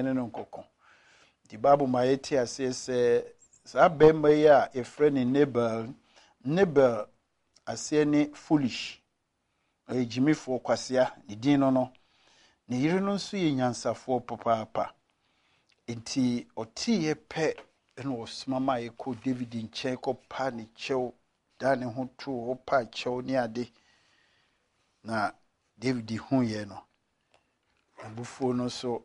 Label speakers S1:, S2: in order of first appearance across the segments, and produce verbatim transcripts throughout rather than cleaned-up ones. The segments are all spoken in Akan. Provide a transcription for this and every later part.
S1: ne no nkɔko. Nti Bible ma yɛte aseɛ sɛ saa barima yi a yɛfrɛ no Nabal, Nabal aseɛ ne foolish, ɔyɛ gyimifoɔ, kwasea, ne din no no. Ne yere no nso yɛ nyansafoɔ papaapa. Nti ɔteeɛ pɛ na ɔsoma ma yɛkɔ David nkyɛn kɔpa ne kyɛw, da ne ho too hɔ pa kyɛw ne ade. Na David huiɛ no, abufuo no nso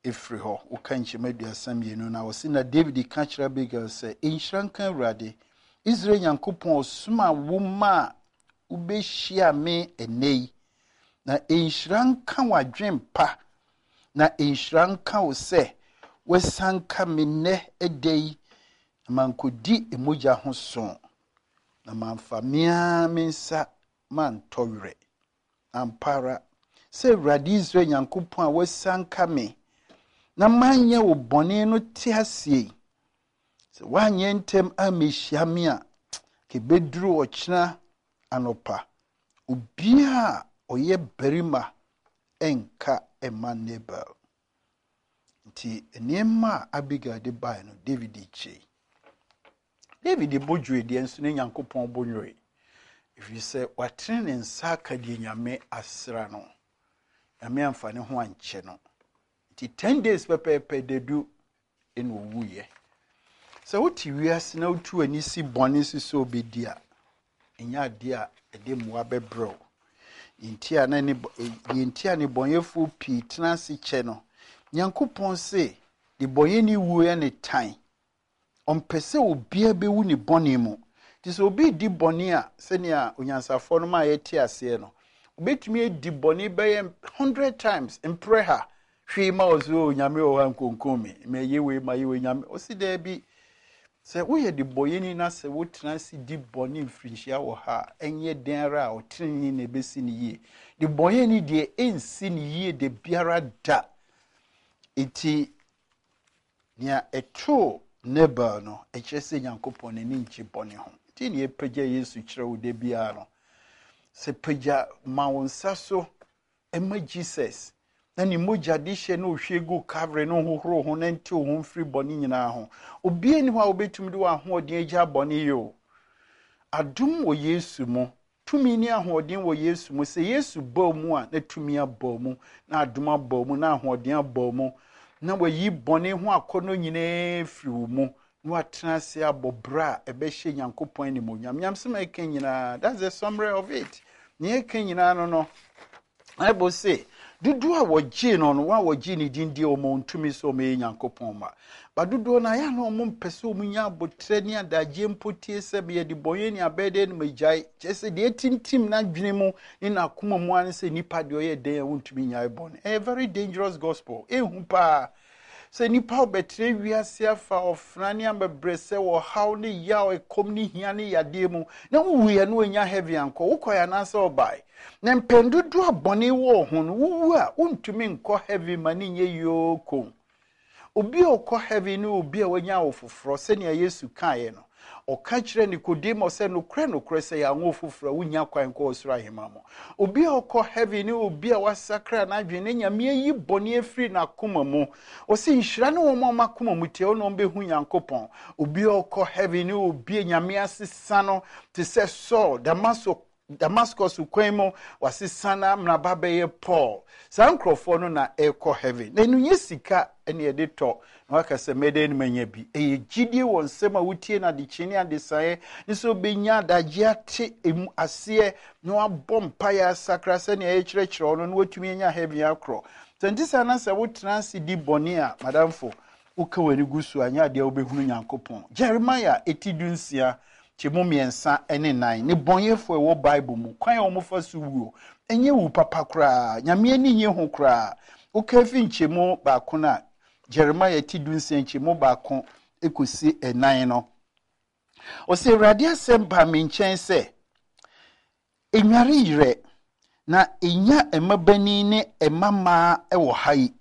S1: ɛfiri hɔ. Woka nkyɛmu aduasa mmienu na ɔse, na David ka kyerɛ Abigail sɛ, nhyira nka Awurade, Israel Nyankopɔn, ɔsoma wo ma a wobɛhyia me ɛnnɛ yi. Na nhyira nka w'adwen pa, na nhyira nka wo sɛ woasanka me nnɛ ɛda yi, na mankɔdi mogya ho so, na mamfa me ara me nsa mantɔ werɛ. Ampa ara, sɛ Awurade Israel Nyankopɔn a woasanka me na manyɛ wo bɔne no te aseɛ yi, sɛ woanyɛ ntɛm ammɛhyia me a, kɛbɛduru ɔkyena anɔpa, obiara a ɔyɛ barima ɛnka ɛma Nabal. Nti nneɛma a Abigail de baeɛ no, David kyei. David bo dwoe deɛ, nso ne Nyankopɔn bo nwoe, ɛfiri sɛ watene ne nsa aka deɛ Nyame asra no. Nyame amfa ne ho ankyɛ no. Nti ten days pɛpɛɛpɛ dadu ɛna owuiɛ. Sɛ wote wiase na wotu ani si bɔne so sɛ wobɛdi a, ɛnyɛ adeɛ a ɛde mmoa bɛbrɛ wo. Nti a na ne deɛ nti a nnebɔneyɛfoɔ pii tena ase kyɛ no, Nyankopɔn se nnebɔneyɛni wuo yɛ ne tan. Ɔmpɛ sɛ obiara bɛwu ne bɔne mu. Nti sɛ obi di bɔne a, sɛnea onyansafoɔ no ma yɛte aseɛ no, obɛtumi adi bɔne bɛyɛ hundred times, mprɛ ha, hwee ma wɔ so, Nyame wɔ hɔ a nkonkom me, mayɛ wei, mayɛ wei, Nyame ɔsi daabi. Sɛ woyɛ de bɔyɛni na sɛ wotena ase di bɔne mfirinhyia wɔ ha a, ɛnyɛ den ara a ɔtenene na ɛbɛsi ne yie. De bɔyɛni deɛ, ɛnsi ne yie de biara da. Nti nea ɛtoo Nabal no, ɛkyerɛ sɛ Nyankopɔn n'ani ngye bɔne ho. Nti ne yɛpagya Yesu kyerɛ wo da biara no sɛ pagya ma wo nsa so ɛma Jesus na ne mogya de hyɛ na ohwie gu Calvary no hohoro ho na nte wo ho mfiri bɔne nyinaa ho. Obiara ni hɔ a wobɛtumi de w'ahoɔden agya bɔne yi o. Adom wɔ Yesu mu, tumi ne ahoɔden wɔ Yesu mu. Sɛ Yesu bɔɔ mu a, na tumi abɔ mu, na adom abɔ mu, na ahoɔden abɔ mu, na wayi bɔne ho akɔnnɔ nyinaa firi wo mu, na watena ase abɔ berɛ a ɛbɛhyɛ Nyankopɔn animuonyam. Nyamsɛm a ɛka nyinaa, that's the summary of it. Nea ɛka nyinaa no no Bible se dodoɔ a wɔgyee no no, wɔn a wɔgyee ne din die, wɔn ntumi sɛ wɔn yɛ Nyankopɔn ma ba dodoɔ no ayɛ na wɔn mpɛ sɛ wɔn nya abotire ne adagye mpo tie sɛ yɛde bɔnyɛ ne abɛɛ deɛ no ma gyae. Kyerɛ sɛ deɛ etintim n'adwene mu ne n'akoma mu ano sɛ nipa deɛ ɔyɛ den a wɔntumi nyae bɔne. Ɛyɛ very dangerous gospel. Ehu paa sɛ nipa ɔbɛtena wiase afa ɔfena ne abɛbrɛ sɛ ɔhaw ne yaw, ɛkɔm ne hia ne yadeɛ mu, na wowuiɛ no onya heaven ankɔ. Wokɔɛ anaasɛ ɔbae na mpɛn dodoɔ a bɔne wɔ ho no, wowu a wontumi nkɔ heaven ma ne nyɛ yooko. Obi a ɔkɔ heaven ne obi a wanya awo foforɔ, sɛnea Yesu kaeɛ no. Ɔka kyerɛ Nikodemo sɛ, nokorɛ nokorɛ, sɛ yɛanwo foforɔ a, wonya kwan kɔ ɔsoro ahema mu. Obi a ɔkɔ heaven ne obi a wasakra n'adwene ne Nyame ayi bɔne afiri n'akoma mu. Ɔsɛ nhyira ne wɔn a wɔn akoma mu teɛ, ɔna wɔn bɛhu Nyankopɔn. Obi a ɔkɔ heaven ne obi a Nyame asesa no te sɛ Saul, Damaso Damascus kwan mu, wasesa no amena ba bɛyɛ Paul. Saa nkurɔfoɔ no na ɛrekɔ heaven. Na ɛno nyɛ sika ɛne yɛde tɔ na waka sɛ mɛdɛ no manya bi. Ɛyɛ gyidie wɔ nsɛm a wotie no adekyee ne adesaeɛ ne sɛ wobɛnya adagye ate emu aseɛ na wabɔ mpaeɛ asakra sɛnea yɛkyerɛkyerɛ wo no, na watumi anya heaven akorɔ. Sɛ nte saa na sɛ wotena ase di bɔne a, madamfo, woka w'ani gu so a, nyɛ adeɛ a wobɛhunu Nyankopɔn. Jeremiah eti du nsia kyɛmu mmiɛnsa ne nan, ne bɔnyɛfoɔ a ɛwɔ Bible mu, kwan a wɔfa so wuo ɛnyɛ wu papa koraa. Nyame ani nye ho koraa. Woka fi nkyɛmu baako no a, Jeremiah ti du nsia nkyɛmu baako ekosi ɛnan no, ɔsɛ, Awurade asɛm baa me nkyɛn sɛ, enware yerɛ na enya mmabanin ne mmammaa wɔ ha yi,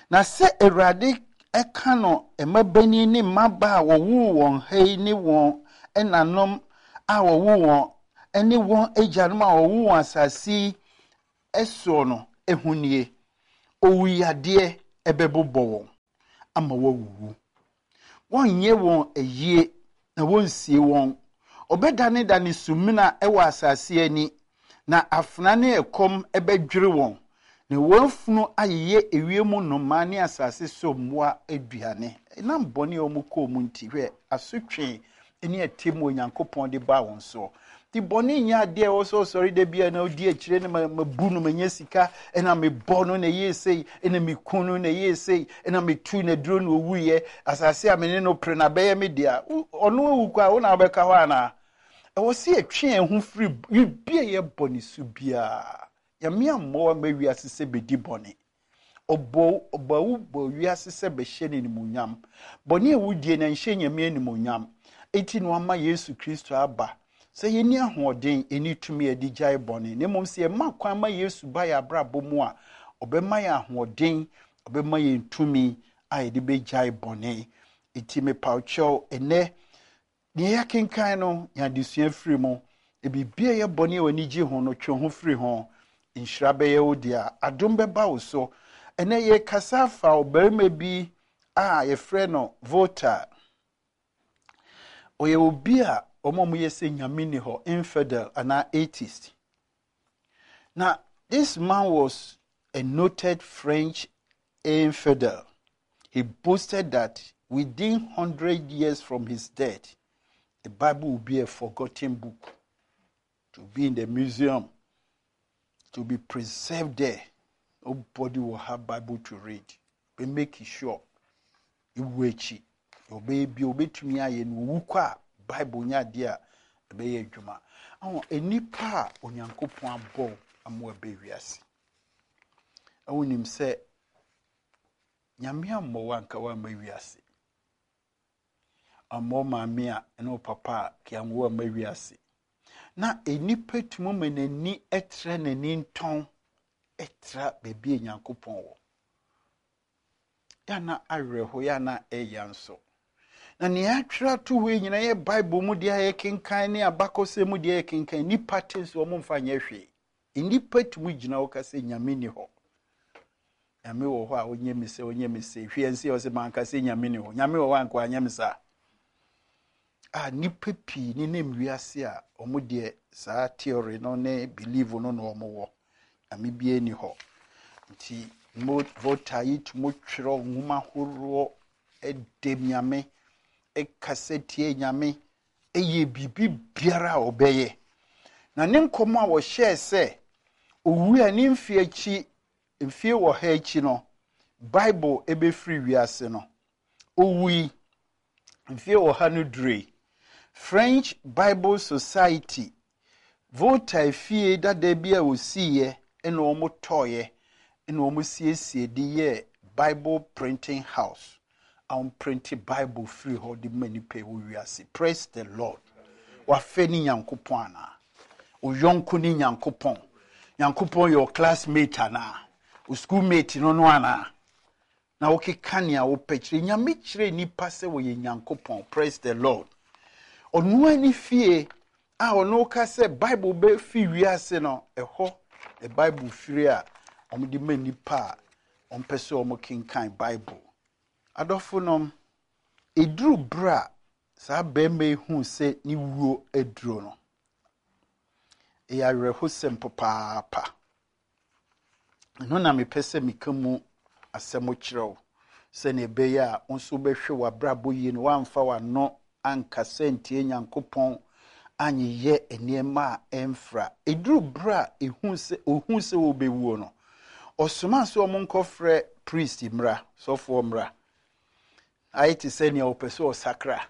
S1: na sɛ Awurade ɛka no mmabanin ne mmabaa a wɔwoo wɔn ha yi ne wɔn ɛnanom a wɔwoo wɔn ne wɔn agyanom a wɔwoo wɔn asase yi ɛsoɔ no ehu nie, owuyadeɛ ɛbɛbobɔ wɔn. ama wɔawuwu. Wɔnyɛ wɔn ayie na wɔnsie wɔn. Ɔbɛdanedane sumina wɔ asase ani, na afena ne ɛkɔm bɛdwere wɔn, na wɔn afunu ayeyɛ ewiem nnomaa ne asase so mmoa aduane. Ɛnam bɔne a wɔn kɔɔ mu nti, hwɛ asotwe ne atemmu Onyankopɔn de baa wɔn soɔ. Nti bɔne nyɛ adeɛ a ɛwɔ sɛ ɔsɔre da bi a na ɔdi akyire no mabu no, manya sika, ɛna mebɔ no na ɛyɛ sei, ɛna meku no na ɛyɛ sei, ɛna metu na duro na ɔwuiɛ, asase a me ne no pere na bɛyɛ me dea. Ɔno awu kɔ a, wo na wobɛka hɔ anaa? Ɛwɔ sɛ yɛtwe yɛn ho firi biribi a ɛyɛ bɔne so biara. Nyame ammɔ wo amma wiase sɛ bɛdi bɔne. Ɔbɔ ɔbɔ wo bɔ wiase sɛ bɛhyɛ no animuonyam. Bɔne a wodie no ɛnhyɛ Nyame animuonyam. Enti na wama Yesu Kristo aba sɛ yɛnni ahoɔden, yɛnni tumi a yɛde gyae bɔne. Na mmom sɛ yɛma kwan ma Yesu ba yɛn abrabɔ mu a, ɔbɛma yɛn ahoɔden, ɔbɛma yɛn tumi a yɛde bɛgyae bɔne. Enti mepaw kyɛw ɛnɛ, nea yɛakenkan no, yɛn adesua firi mu. Biribi a ɛyɛ bɔne a w'ani gye ho no, twe ho firi ho. Nhyira bɛyɛ wo dea, adom bɛba wo so. Ɛnɛ yɛkasa afa ɔbarima bi a yɛfrɛ no Voltaire. Ɔyɛ obi a wɔn a wɔyɛ sɛ Nyame ni hɔ, infidel anaa atheist. Na this man was a noted French infidel. He boasted that within hundred years from his death, the Bible will be a forgotten book, to be in the museum, to be preserved there. Nobody will have Bible to read. But make sure ewu akyi ɔbɛyɛ bi obetumi ayɛ no owu kɔ a Bible nyɛ adeɛ a ɛbɛyɛ adwuma. Ɔho nipa a Onyankopɔn abɔ ama ɛbɛ wiase. Ɛwɔ nim sɛ Nyame ammɔ wo anka woamma wiase. Ammɔ maame a ɛne wo papa a kianwo amma wiase. Na nipa tumi ma n'ani ɛtrɛ n'ani ntɔn ɛtra baabi a Nyankopɔn wɔ. Yana awerɛho, yana ɛya nso. Na nea atwerɛ ato hɔ yi nyinaa yɛ Bible mu deɛ a yɛkenkan ne abakɔsɛm mu deɛ yɛkenkan, nipa te nso wɔn mfa nyɛ hwee. Nipa tumi gyina hɔ ka sɛ Nyame ni hɔ. Nyame wɔ hɔ a ɔnyɛ mi sɛ ɔnyɛ mi sɛ hwɛ nsi ɔsɛ manka sɛ Nyame ni hɔ. Nyame wɔ hɔ anka wanyɛ mi saa. A nipa pii ne nam wiase a wɔn deɛ saa theory no ne belief no na wɔn wɔ. Nyame biara ni hɔ. Nti mo Voltaire yi tumi twerɛ nwoma ahoroɔ ɛdɛm Nyame, ɛkasa tie Nyame, ɛyɛ biribi biara a ɔbɛyɛ. Na ne nkɔmɔ a wɔhyɛɛ sɛ owu a ne mfe akyi mfie wɔ ha akyi no Bible ɛbɛfiri wiase no, owui mfie wɔ ha no dure. French Bible Society, Voltaire fie dada bi a osiiɛ ɛna wɔn tɔɔyɛ ɛna wɔn siesie de yɛɛ Bible printing house a wɔn print Bible firi hɔ de ma nipa ɛwɔ wiase. Praise the Lord. Wafɛ ne Nyankopɔn anaa? Oyɔnko ne Nyankopɔn. Nyankopɔn yɛ classmate anaa? O schoolmate no no anaa? Na wokeka nea wopɛ kyerɛ Nyame kyerɛ nipa sɛ wɔyɛ Nyankopɔn. Praise the Lord. Ɔno ani fie a ɔno ka sɛ Bible bɛfi wiase no, ɛhɔ the Bible firi a wɔde ma nipa a wɔmpɛ sɛ wɔn kenkan Bible. Adɔfo nom, eduru berɛ a saa barima yi hu sɛ ne wuo aduro no, ɛyɛ awerɛhosɛm papaapa. Ɛno na mepɛ sɛ meka mu asɛm kyerɛ wo sɛnea ɛbɛyɛ a wo nso wobɛhwɛ w'abrabɔ yie no woamfa w'ano ankasa ntie Nyankopɔn anyeyɛ nneɛma a ɛmfra. Ɛduru berɛ a ɛhu sɛ ohu sɛ wɔbɛwuo no, ɔsoma sɛ ɔmo nkɔfrɛ priest mmra, sɔfoɔ mmra. Ayɛ te sɛ nea ɔpɛ sɛ ɔsakra.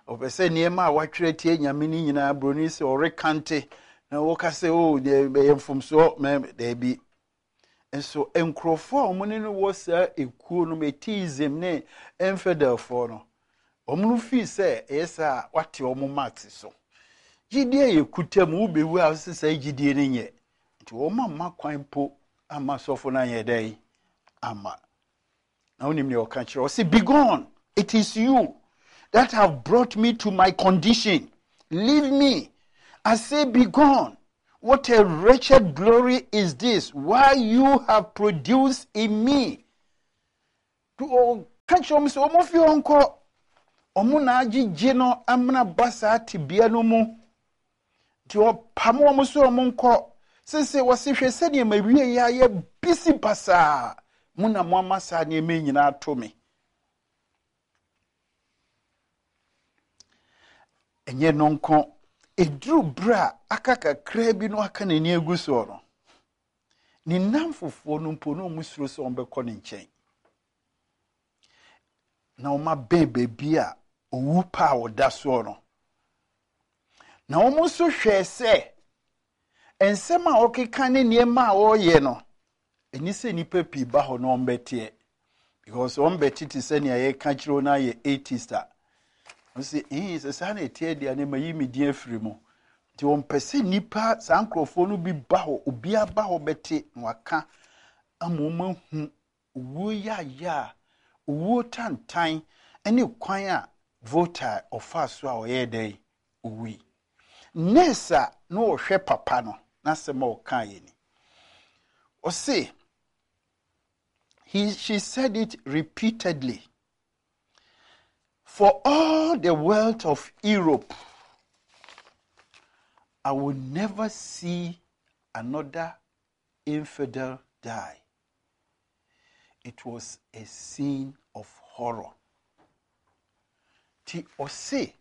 S1: Ɔpɛ sɛ nneɛma a watwerɛ tie Nyame no nyinaa buroni sɛ ɔrekante na wɔka sɛ o ɛyɛ mfomsoɔ mɛ daabi. Nso nkurɔfoɔ a wɔn ne no wɔ saa ekuo no atheism ne infidelfoɔ no, wɔn no fii sɛ ɛyɛ saa a wate wɔn mat so. Gyidie a yɛkuta mu wobɛwu a wɔsɛ saa gyidie no nyɛ. Nti wɔn amma kwan po ama sɔfo no anyɛ dɛn ama. Na wonim nea ɔka kyerɛ ɔsɛ, "Begone, it is you that have brought me to my condition. Leave me. I say, begone. What a wretched glory is this, why you have produced in me." kyerɛ wɔn sɛ wɔn fi hɔ nkɔ. Wɔn na agyegye no amena ba saa tebea no mu. Nti ɔpam wɔn sɛ wɔn nkɔ. Sese wɔsi hwɛ sɛdeɛ ma wie yɛ ayɛ bisi basaa. Mo na mo ama saa nneɛma nyinaa ato me. Ɛnyɛ no nko, ɛduru berɛ a aka kakraa bi no aka n'ani agu soɔ no, ne nnamfofoɔ no mpo na wɔn suro sɛ wɔbɛkɔ ne nkyɛn. Na wɔn abɛn baabi a owu pa a ɔda soɔ no. Na wɔn nso hwɛɛ sɛ nsɛm a ɔkeka ne nneɛma a ɔreyɛ no, ɛni sɛ nnipa pii ba hɔ na wɔn bɛteɛ. Because wɔn bɛte te sɛ nea yɛka kyerɛ wɔn ayɛ atheist a. Wɔn sɛ, ɛn sɛ saa na ɛteɛ deɛ ne ma yi mi din afiri mu. Nti wɔn pɛ sɛ nnipa saa nkurɔfoɔ no bi ba hɔ, obiara ba hɔ bɛte na waka ama wɔn ahu owuo yaaya a owuo tantan ne kwan a Voltaire ɔfaa so a ɔyɛɛ dɛn owui. Nurse a na ɔhwɛ papa no n'asɛm a ɔkaa yɛ ni. Ɔse, he, she said it repeatedly. For all the wealth of Europe, I will never see another infidel die. It was a scene of horror. Ti ɔse,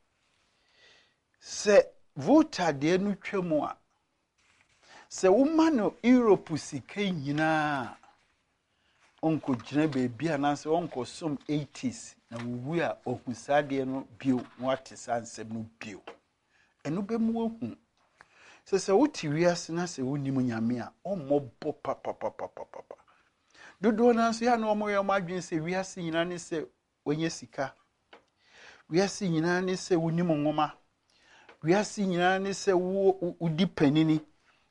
S1: sɛ Voltaire deɛ no twa mu a, sɛ woma no Europe sika nyinaa, ɔnkɔgyina baabi anaasɛ ɔnkɔsom atheist na wowu a ɔhu saa adeɛ no bio na wate saa nsɛm no bio. Ɛno bɛmu wahu. Sɛ sɛ wote wiase na sɛ wonim Nyame a, ɔmmɔbɔ papapapapapa. Dodoɔ no nso yɛ a na wɔyɛ wɔn adwene sɛ wiase nyinaa ne sɛ wɔnyɛ sika. Wiase nyinaa ne sɛ wonim nwoma. Wiase nyinaa ne sɛ wo wodi panini.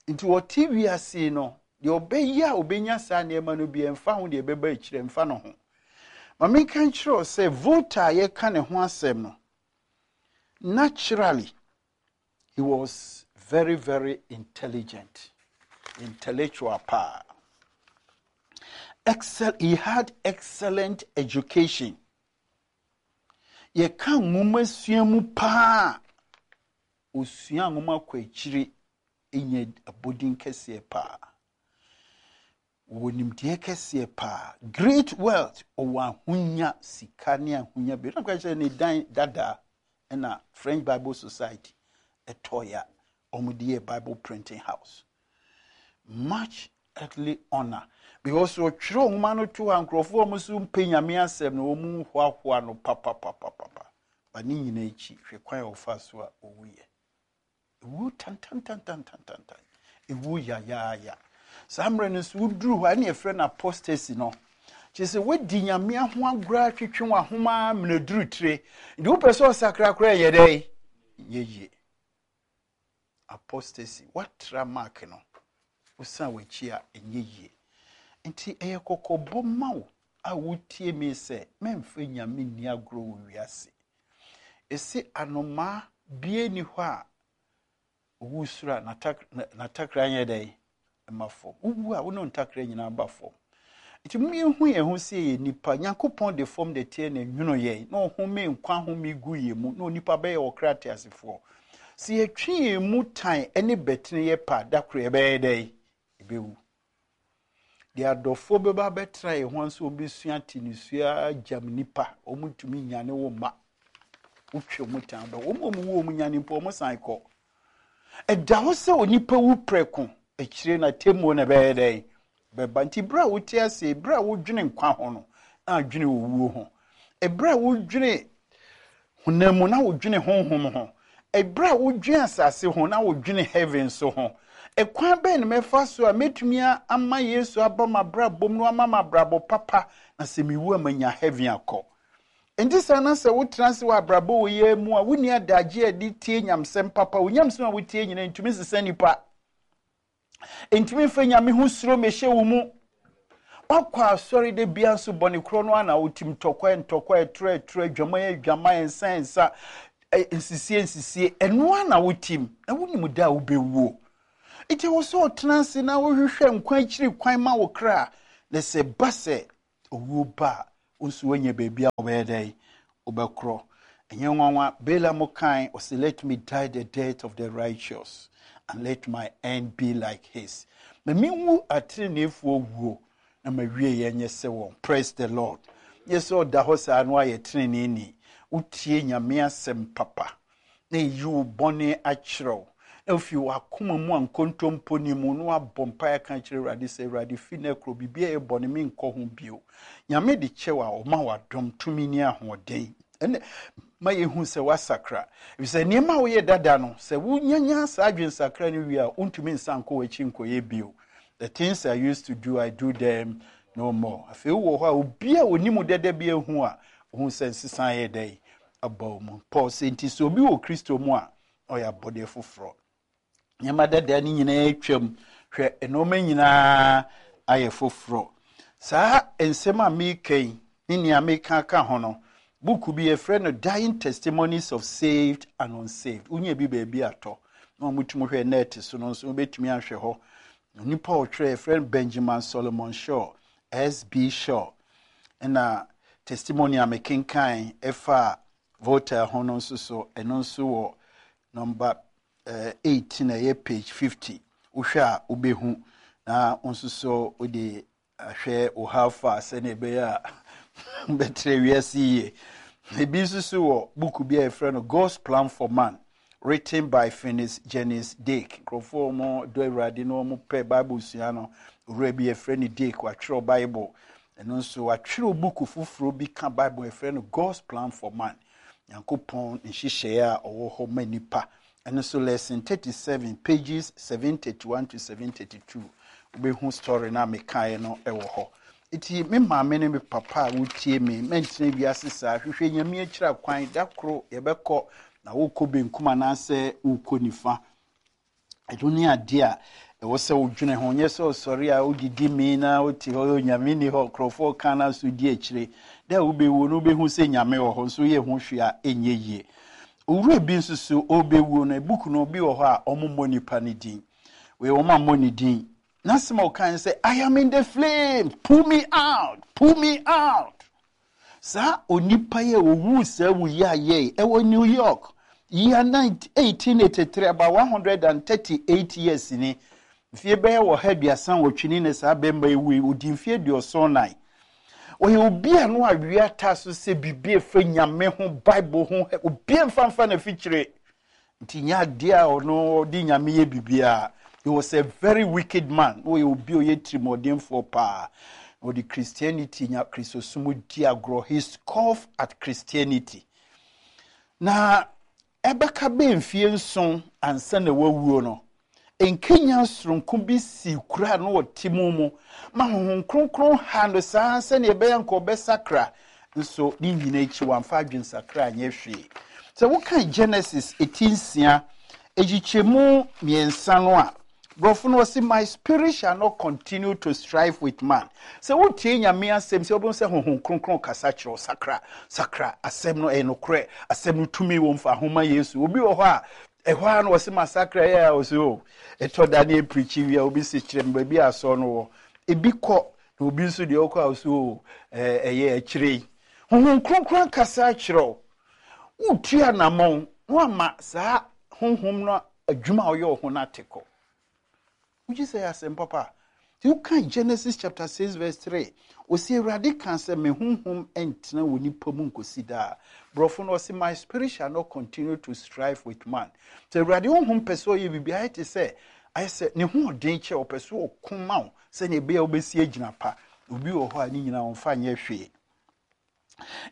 S1: Nti wɔte wiase no, deɛ ɔbɛyɛ a ɔbɛnya saa nneɛma no bi ɛmfa ho deɛ ɛbɛba akyire ɛmfa no ho. Ma menka nkyerɛ wo sɛ Voltaire a yɛka ne ho asɛm no, naturally, he was very, very intelligent, intellectual paa. Excel, he had excellent education. Yɛka nwoma sua mu paa, osua nwoma kɔ akyire nya abɔden kɛseɛ paa. Wɔwɔ nimdeɛ kɛseɛ paa. Great wealth, ɔwɔ ahonya, sika ne ahonya bi. Na kyerɛ ne dan dada ɛna French Bible Society ɛtɔɔyɛ a wɔde yɛ Bible printing house. Much earthly honor. Because ɔtwerɛ nwoma no to hɔ a nkurɔfoɔ a wɔn nso mpɛ Nyame asɛm no wɔn hoahoa no papapapapa. Ba ne nyinaa akyi, hwɛ kwan a ɔfa so a ɔwuiɛ. Ewu tantantantantantan. Ewu yayaaya. Saa mmerɛ no nso woduru hɔ a ɛne yɛfrɛ no apostasy no. Kyerɛ sɛ woadi Nyame ho agorɔ atwetwe w'ahoma mmerɛ duru tire. Nti wopɛ sɛ ɔsakra koraa yɛ dɛn? Nyɛ yie. Apostasy, woatra mark no, wosan w'akyi a ɛnyɛ yie. Nti ɛyɛ kɔkɔbɔ ma wo a wotie me sɛ mɛmfa Nyame nni agorɔ wɔ wiase. Ɛsi anomaa bie ni hɔ a owu soro a n'atakra nyɛ dɛn ɛma fam. Wowu a wo ne ntakra nyinaa ba fam. Nti mu yɛhu yɛn ho sɛ yɛ nipa. Nyankopɔn de fam de teɛ na nwuno yɛn na ɔhome nkwa home gu yɛn mu na onipa bɛyɛ ɔkra teasefoɔ. Sɛ yɛtwe yɛn mu tan ne bɛtene yɛ pa da koro yɛbɛyɛ dɛn? Yɛbɛwu. Deɛ adɔfoɔ bɛba bɛtena yɛn ho nso wɔbɛsua te ne gyam nipa wɔn ntumi nyane wo mma. Wotwe wɔn tan bɛ wɔn a wɔn wu wɔn nyane mpo wɔn san kɔ. Ɛda hɔ sɛ onipa wu prɛko akyire na temmuo na ɛbɛyɛ dɛn? Bɛba. Nti berɛ a wote ase, berɛ a wodwene nkwa ho no, na adwene owuo ho. Ɛberɛ a wodwene honam mu na wodwene honhom ho. Ɛberɛ a wodwene asase ho na wodwene heaven so ho. Ɛkwan bɛn na mɛfa so a mɛtumi ama Yesu aba m'abrabɔ mu na wama m'abrabɔ papa na sɛ mewu a manya heaven akɔ. Nti saa na sɛ wotena ase wɔ abrabɔ wɔ yɛ mu a wonni adagye a ɛde tie nyamsɛm papa. Wo nyamsɛm a wotie nyinaa ntumi nsesa nipa. Ntumi mfa Nyame ho suro mmɛhyɛ wo mu. Wakɔ asɔre de bia nso bɔne korɔ no ana wotim ntɔkwa ntɔkwa ɛtorɔ ɛtorɔ adwaman adwaman nsa nsa nsisie nsisie ɛno ana wotim na wonim da a wobɛwuo. Nti wɔ sɛ ɔtena ase na wohwehwɛ nkwa akyiri kwan ma wo kra na sɛ ba sɛ owuo ba a Wo nso woanya baabi a wobɛyɛ dɛn? Wobɛkorɔ. Ɛnyɛ nwanwa, Balaam kan, ɔsɛ, "Let me die the death of the righteous and let my end be like his." Ma menwu ateneneefoɔ wuo na mawie yɛ nyɛ sɛ wɔn. Praise the Lord. Nyɛ sɛ ɔda hɔ saa no ayɛ teneneeni. Wotie Nyame asɛm papa na ɛyi wo bɔne akyerɛw na ofi w'akoma mu a nkontompo ni mu na wabɔ mpaeɛ ka kyerɛ Awurade sɛ, "Awurade, fi no korɔ biribi a ɛyɛ bɔne, menkɔ ho bio." Nyame de kyɛw a, ɔma w'adom tumi ne ahoɔden ɛnɛ ma yɛhu sɛ woasakra, ɛfisɛ nneɛma a woyɛ dada no, sɛ wonyanya saa adwensakra no wie a, wontumi nsa nkɔ w'akyi nkɔyɛ bio. "The things I used to do, I do them no more." Afei wowɔ hɔ a, obi a onim dada bi ehu a ohun sɛ nsesa yɛ dɛ aba wo mu. Paul sɛ, nti sɛ obi wɔ Kristo mu a, ɔyɛ abɔdeɛ foforɔ, nneɛma dada no nyinaa atwam, hwɛ, nneɛma nyinaa ayɛ foforɔ. Saa nsɛm a meka yi ne nea meka ka ho no, book bi yɛfrɛ no Dying Testimonies of Saved and Unsaved. Wonya bi baabi atɔ na wɔtumi hwɛ net so no nso, wobɛtumi ahwɛ hɔ. Onipa a ɔtwerɛ, yɛfrɛ no Benjamin Solomon Shaw, S B. Shaw. Ɛna testimony a mekenkan ɛfa Voltaire ho no nso so, ɛno nso wɔ number uh, eighteen, ɛyɛ page fifty. Wohwɛ a wobɛhu, na nso so wode ahwɛ wo how far sɛnea ɛbɛyɛ a bɛtrɛ wiase yie. Ebi nso so wɔ book bi a yɛfrɛ no God's Plan for Man, written by Phineas Jennings Dake. Nkurɔfoɔ a wɔn dɔ Awurade na wɔn pɛ Bible sua no, owura bi yɛfrɛ no Dake, watwerɛ Bible. Ɛno nso watwerɛ book foforɔ bi ka Bible, yɛfrɛ no God's Plan for Man, Nyankopɔn nhyehyɛeɛ a ɔwɔ hɔ ma nipa. Ɛno nso lesson thirty seven, pages seven thirty one to seven thirty two, wobɛhu story no a mekaeɛ no ɛwɔ hɔ. Nti me maame ne me papa a wotie me, mɛntena wiase saa. Hwehwɛ Nyame akyira kwan. Da koro yɛbɛkɔ, na wokɔ benkum anaasɛ wokɔ nifa, ɛno ne adeɛ a ɛwɔ sɛ wodwene ho. Nyɛ sɛ ɔsɔre a wodidi mi na wote hɔ, Nyame ni hɔ, nkurɔfoɔ ka na so di akyire. Da a wobɛwuo no, wobɛhu sɛ Nyame wɔ hɔ nso woyɛ ho hwee a ɛnyɛ yie. Owura bi nso so ɔbɛwuo no, book no bi wɔ hɔ a ɔmommɔ nipa no din. Wei wɔn ammɔ ne din. N'asɛm a ɔkan sɛ, "I am in the flame, pull me out, pull me out." Saa onipa yi a owu saa wu yi ayɛ ɛwɔ New York year eighteen eighty-three, about one hundred and thirty-eight years ni, mfie bɛyɛ wɔ ha aduasa nwɔtwe ni na saa bɛrima yi wu yi. Odi mfie aduɔson nan. Ɔyɛ obi a no awia taa so sɛ biribi efa Nyame ho, Bible ho, obi mfa mfa na fikyire nti nyɛ adeɛ a ɔno ɔde Nyame yɛ biribiara. He was a very wicked man. Ɔyɛ obi a ɔyɛ tirimɔdenfoɔ paa. Ɔde Christianity nya Kristosom di agorɔ. He scoff at Christianity. Na ɛbɛka bɛɛ mfie nson ansa na wawuo no, nkenya soronko bi si kura no ɔte mu mu ma Honhom Kronkron ha no saa sɛnea ɛbɛyɛ nka ɔbɛsakra. Nso ne nyina akyi, wamfa adwensakra anyɛ hwee. Sɛ woka Genesis eti nsia ekyikyɛmu mmiɛnsa no a, borɔfo no wɔsi, "My spirit shall not continue to strive with man." Sɛ wotie Nyame asɛm sɛ wobɛhu sɛ Honhom Kronkron kasa kyerɛ wo, sakra, sakra. Asɛm no ɛyɛ nokorɛ, asɛm no tumi wɔ mfa ahoma Yesu. Obi wɔ hɔ a ɛhɔ a no wɔsi masakra yɛ a, wɔsi o ɛtɔ da ne epirikyi wia, obi si kyerɛ me baabi a asɔ no wɔ, ebi kɔ, na obi nso deɛ ɔkɔ a ɔsi o ɛɛ ɛyɛ akyire yi. Honhom Kronkron kasa kyerɛ wo, wotu anammɔn na wama saa honhom no adwuma a ɔyɛ wɔ ho no ate kɔ. Wogye sɛ yɛ asɛm papa. Nti woka Genesis chapter six verse three, ɔsi Awurade ka sɛ, "Me honhom ntena wɔ nipa mu nkosi daa." Borɔfo no ɔsi, "My spirit shall not continue to strive with man." Sɛ Awurade honhom pɛ sɛ ɔyɛ biribi, ayɛ te sɛ ayɛ sɛ ne ho ɔden kyɛ, ɔpɛ so ɔko ma wo sɛnea ɛbɛyɛ a wobɛsi agyina pa. Obi wɔ hɔ a ne nyinaa ɔmfa nyɛ hwee.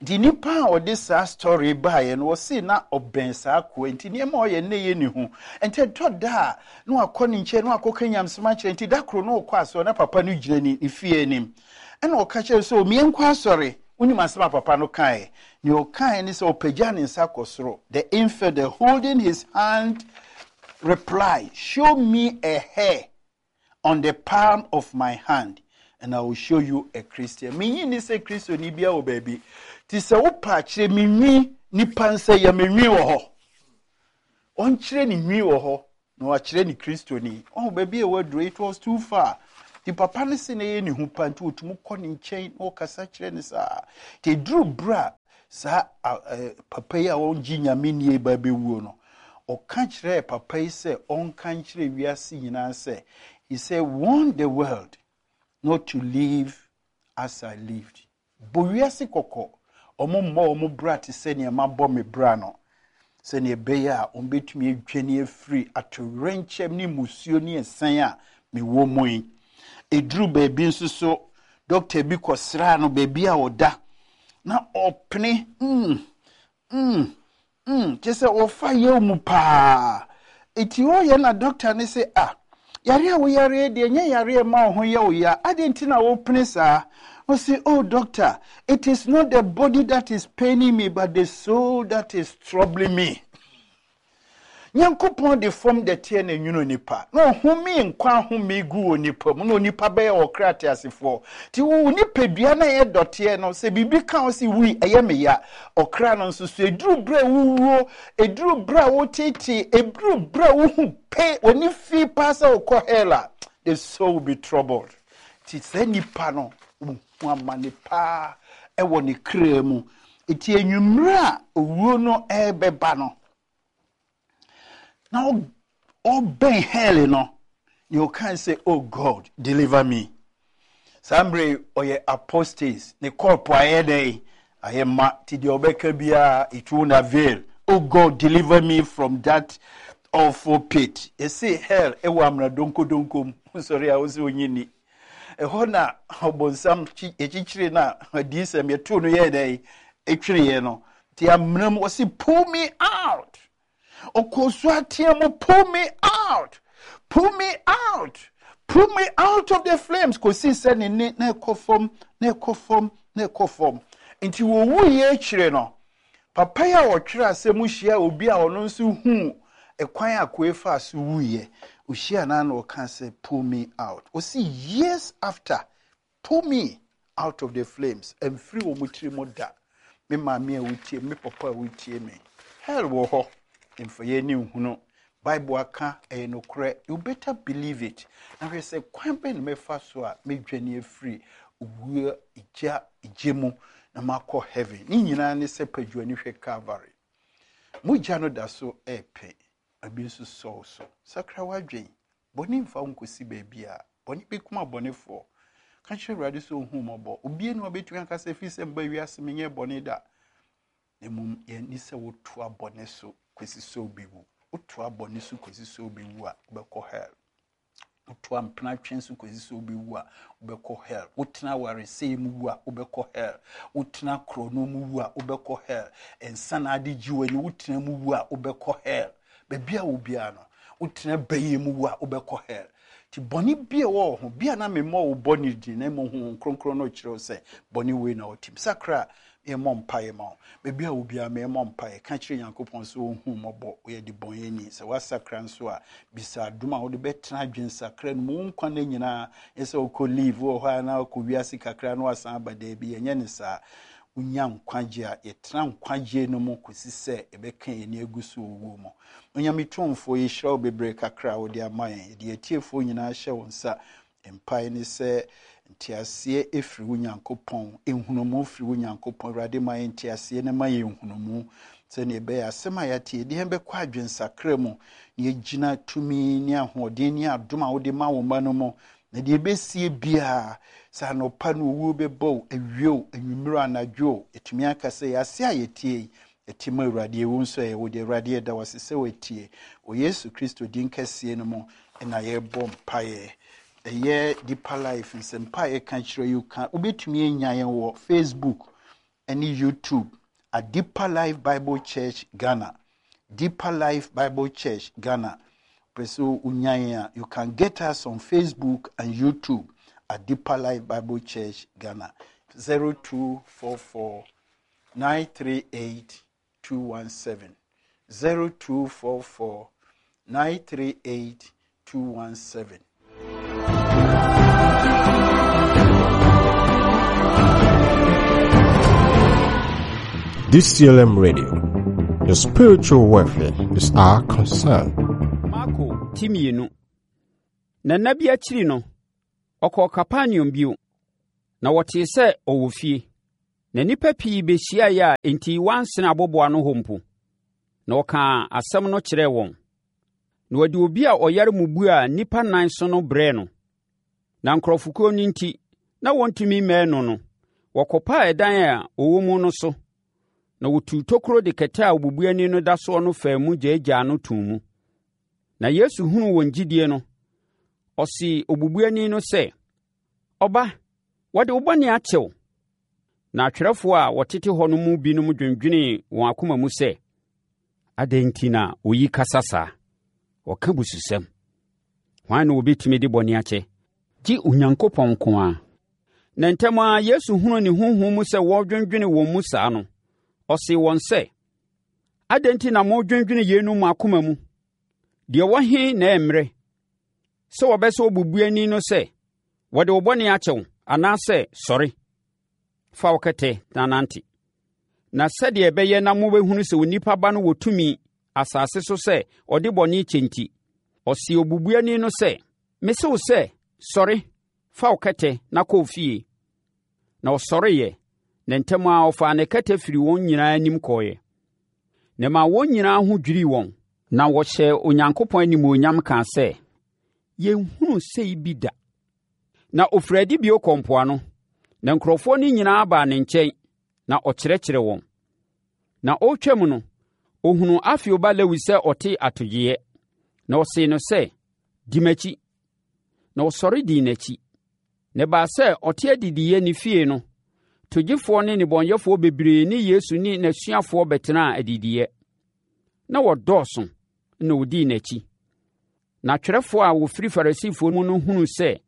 S1: Nti nipa a ɔde saa story baeɛ no, wɔsi na ɔbɛn saa akoa, nti nneɛma a ɔyɛ ne yɛ ne ho. Nti ɛtɔ da a na wakɔ ne nkyɛn na wakɔka nyamsɛm akyerɛ. Nti da koro na ɔkɔ asɔre na papa no gyina ne ne fie anim, ɛna ɔka kyerɛ sɛ, "Omie nkɔ asɔre." Wonim asɛm a papa no kaeɛ? Nea ɔkaeɛ ne sɛ ɔpagya ne nsa kɔ soro. The infidel, holding his hand, reply, "Show me a hair on the palm of my hand and I will show you a Christian." Menyi ni sɛ Kristoni bia wɔ baabi. Ti sɛ wopa akyerɛ me nwi, nipa nsa yɛ me nwi wɔ hɔ. Ɔnkyerɛ ne nwi wɔ hɔ na wakyerɛ ne Kristoni. Ɔho baabi a waduro, it was too far. Ti Nti papa no se na ɛyɛ ne hu pa nti ɔtumi kɔ ne nkyɛn na ɔkasa kyerɛ no saa. Nti ɛduru berɛ a saa papa yi a ɔngye Nyame nnie ba bɛwuo no, ɔka kyerɛɛ papa yi sɛ ɔnka nkyerɛ wiase nyinaa sɛ, he said, warn the world not to live as I lived. Bɔ wiase kɔkɔ, ɔmo mmɔ ɔmo bra te sɛ nea mabɔ me bra no, sɛnea ɛbɛyɛ a ɔmbɛtumi adwane afiri atowerɛnkyɛm ne mmusuo ne ɛsan a mewɔ mu yi. Ɛduru baabi nso so, dɔkta bi kɔsraa no baabi a ɔda, na ɔpene, mm, mm, mm, kyerɛ sɛ ɔfa yaw mu paa. Eti ɔyɛ na dɔkta ne sɛ, ah, yare a woyare deɛ nyɛ yare a ɛma wo ho yɛ wo ya, adɛn nti na wopene saa? Ɔse, oh doctor, it is not the body that is paining me, but the soul that is troubling me. Nyankopɔn de fam dɛteɛ na nwunu nipa, na ɔhome nkwa ahome gu wɔ nipa mu, na onipa bɛyɛ ɔkra teasefoɔ. Nti wo nipadua na ɛyɛ dɔteɛ no, sɛ biribi ka wo sɛ wui, ɛyɛ me ya. Ɔkra no nso so, ɛduru berɛ a wowuo, ɛduru berɛ a wotetee, ɛduru berɛ a wohu pe, w'ani fi paa sɛ wokɔ hell a, the soul will be troubled. Nti saa nipa no, wohu amane paa ɛwɔ ne kra mu. Nti enwummerɛ a owuo no ɛrebɛba no, na ɔbɛn hell no, nea ɔka sɛ, oh God, deliver me. Saa mmerɛ ɔyɛ apostates, ne kɔɔpo ayɛ dɛn? Ayɛ ma, nti deɛ ɔbɛka biara, it won't avail. Oh God, deliver me from that awful pit. Yɛse hell ɛwɔ amena donkodonko mu. Sɔre a wosɛ onyi ni. Ɛhɔ na ɔbɔnsam yɛkyikyiri na adiisɛm yɛtoo no yɛɛ dɛn? Ɛtwereeɛ no. Nti amena mu, ɔse pull me out. Ɔkɔ so ateɛ mu, pull me out, pull me out, pull me out of the flames. Kɔsi sɛ ne ne na ɛkɔ fam, na ɛkɔ fam, na ɛkɔ fam. Nti wɔwu yɛ akyire no, papa yi a ɔtwerɛ asɛm hyia obi a ɔno nso hu ɛkwan a koe fa so wuyɛ. Ohyia na na ɔka sɛ pull me out. Ɔsi years after, pull me out of the flames. Ɛmfiri wɔn tiri mu da. Me maame a wotie, me papa a wotie me. Hell wɔ hɔ. Mfa yɛn ani nhunu. Bible aka ɛyɛ nokorɛ. You better believe it. Na hwɛ sɛ kwan bɛn na mɛfa so a mɛdwane afiri owuo gya gye mu na makɔ heaven. Ne nyinaa ne sɛ padwani hwɛ Calvary. Mogya no da so ɛɛpɛ. Ebi nso sɔw so. Sakra w'adwen. Bɔne mfa wo nkɔsi baabi a bɔne bɛkum abɔnefoɔ. Ka kyerɛ Awurade sɛ ɔhu mmɔbɔ. Obie ne ɔbɛtumi aka sɛ ɛfiri sɛ mba wiase menyɛ bɔne da. Na mmom yɛni sɛ wotoa bɔne so kɔsi sɛ wobɛwu. Wotoa bɔne so kɔsi sɛ wobɛwu a, wobɛkɔ hell. Wotoa mpenatwe so kɔsi sɛ wobɛwu a, wobɛkɔ hell. Wotena awaresɛe mu wu a, wobɛkɔ hell. Wotena korɔno mu wu a, wobɛkɔ hell. Nsa na ade gye w'ani, wotena mu wu a, wobɛkɔ hell. Baabi a wo biara no, wotena bɛyɛ mu wu a, wobɛkɔ hell. Nti bɔne bi a ɛwɔ wo ho, bi a na memmɔ wo bɔne din, na mmom Honhom Kronkron no kyerɛ wo sɛ bɔne wei na wotim. Sakra a, yɛmmɔ mpaeɛ ma wo. Baabi a wo biara memmɔ mpaeɛ. Ka kyerɛ Nyankopɔn sɛ ɔnhu mmɔbɔ, woyɛ de bɔnyɛni. Sɛ woasakra nso a, bisa adom a wode bɛtena adwensakra no mu. Wo nkwa no nyinaa, nyɛ sɛ wokɔ leave wɔ hɔ a na wokɔ wiase kakra na woasan aba daabi, ɛnyɛ ne saa. Wonya nkwagye a, yɛtena nkwagye no mu kɔsi sɛ yɛbɛka yɛn ani agu so wɔ owuo mu. Onyame tumfoɔ, yɛhyira wo bebree kakra a wode ama yɛn. Yɛde atiefoɔ nyinaa hyɛ wo nsa. Mpae ne sɛ nteaseɛ ɛfiri wo Nyankopɔn, nhunumu firi wo Nyankopɔn. Awurade ma yɛn nteaseɛ na ma yɛn nhunumu sɛnea ɛbɛyɛ asɛm a yɛate yɛde yɛn bɛkɔ adwensakra mu na yɛgyina tumi ne ahoɔden ne adom a wode ma wo mma no mu. Na deɛ ɛbɛsie biara, sɛ anɔpa no owuo bɛbɔ wo, awie wo, anwummerɛ anadwo wo, ɛtumi aka sɛ yɛase a yɛtie yi, ɛte ma Awurade, ɛwɔ nso ɛyɛ wo deɛ. Awurade yɛda wo ase sɛ woatie. Wɔ Yesu Kristo din kɛseɛ no mu ɛna yɛrebɔ mpaeɛ. Ɛyɛ Deeper Life nsɛmpa a yɛka kyerɛ yi ka wobɛtumi anya yɛn wɔ Facebook ɛne YouTube at Deeper Life Bible Church Ghana. Deeper Life Bible Church Ghana. Pɛ sɛ wonya yɛn a, you can get us on Facebook and YouTube at Deeper Life Bible Church Ghana. zero two four four nine three eight two one seven. zero two four four nine three eight two one seven.
S2: D C L M Radio, the spiritual welfare is our concern.
S3: Marko ti mmienu. Na nna bi akyiri no, Ɔkɔɔ Kapernaum bio, na wɔtee sɛ ɔwɔ fie. Na nnipa pii bɛhyiaeɛ a enti wɔansene aboboano hɔ mpo. Na ɔkaa asɛm no kyerɛɛ wɔn. Na wɔde obi a ɔyare mmubuo a nnipa nan so no brɛɛ no. Na nkurɔfokuo no nti, na wɔntumi mmɛn no no, wɔkɔpaa ɛdan a ɔwɔ mu no so, na wɔtuu tokuro de kɛtɛ a obubuani no da soɔ no faa mu gyaagyaa no too mu. Na Yesu hunuu wɔn gyidie no, ɔsee obubuani no sɛ, Ɔba, wɔde wo bɔne akyɛ wo. Na atwerɛfoɔ a wɔtete hɔ no mu binom dwendwenee wɔn akoma mu sɛ, Adɛn nti na oyi kasa saa? Ɔka bususɛm. Hwan na obɛtumi de bɔne akyɛ? Gye Onyankopɔn nko ara. Na ntɛm ara Yesu hunuu ne honhom mu sɛ wɔredwendwene wɔn mu saa no, ɔsee wɔn sɛ, Adɛn nti na moredwendwene yeinom mo akoma mu? Deɛ ɛwɔ he na ɛyɛ mmerɛ, sɛ wɔbɛse obubuani no sɛ, Wɔde wo bɔne akyɛ wo, anaasɛ, Sɔre, fa wo kɛtɛ na nante? Na sɛdeɛ ɛbɛyɛ na mobɛhunu sɛ Onipa Ba no wɔ tumi asase so sɛ ɔde bɔne kyɛ nti, ɔsee obubuani no sɛ, Mese wo sɛ, sɔre, fa wo kɛtɛ na kɔ wo fie. Na ɔsɔreeɛ, na ntɛm ara ɔfaa ne kɛtɛ firii wɔn nyinaa anim kɔeɛ. Na ɛmaa wɔn nyinaa ho dwirii wɔn, na wɔhyɛɛ Onyankopɔn animuonyam kaa sɛ, Yɛnhunuu sei bi da. Na ɔfirii adi bio kɔɔ mpoano, na nkurɔfoɔ no nyinaa baa ne nkyɛn, na ɔkyerɛkyerɛɛ wɔn. Na ɔretwam no, ɔhunuu Alfeo ba Lewi sɛ ɔte atogyeeɛ, na ɔsee no sɛ, Di m'akyi. Na ɔsɔre dii n'akyi. Na ɛbaa sɛ ɔte adidiiɛ ne fie no, togyefoɔ ne nnebɔneyɛfoɔ bebree ne Yesu ne n'asuafoɔ bɛtenaa adidiiɛ. Na wɔdɔɔso na wɔdii n'akyi. Na atwerɛfoɔ a wɔfiri Farisifoɔ mu no hunuu sɛ